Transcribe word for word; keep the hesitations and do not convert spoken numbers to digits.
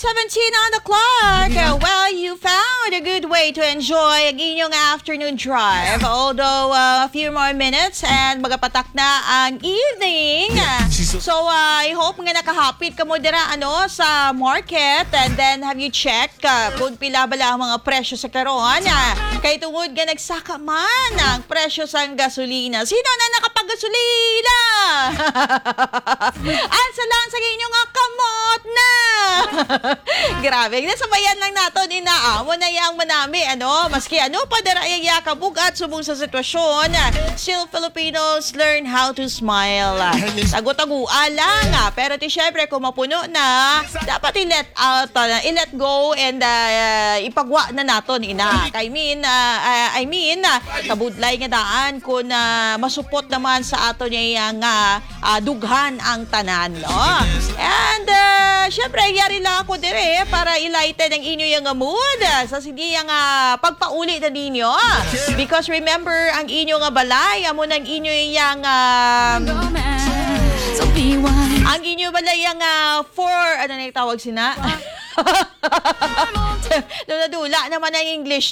Seventeen on the clock. Uh, Well, you found a good way to enjoy ang inyong afternoon drive. Although, uh, a few more minutes and magapatak na ang evening. So, uh, I hope nga nakahapit kamo dira, ano, sa market. And then, have you checked, uh, kung pila bala ang mga presyo sa karon? Uh, kay tungod nga nagsaka man ang presyo sang gasolina. Sino na nakapaggasolina? Ansa lang sa inyo nga kamot na? Grabe, nasabayan lang naton ina, amo na yang manami, ano? Maski ano pa dira iya kabugat subong sa sitwasyon, still Filipinos learn how to smile. Tago-tagoa lang, ah. Pero ti syempre, kung mapuno na, dapat i-let out, ah, i-let go and, ah, ipagwa na naton ina. I mean, ah, ah, I mean, ah, kabudlay nga daan kung, ah, masupot naman sa aton iya nga ah, dughan ang tanan, no? And, uh, syempre, yari lang ako dire para i-lighten ang inyo yang mood, ah, sa sige yang, ah, pagpauli na ninyo. Because remember, ang inyo nga balay, amo nang inyo yang, ah, ang inyo balay yang, ah, for, ano na yung tawag sina? Dula-dula naman ang English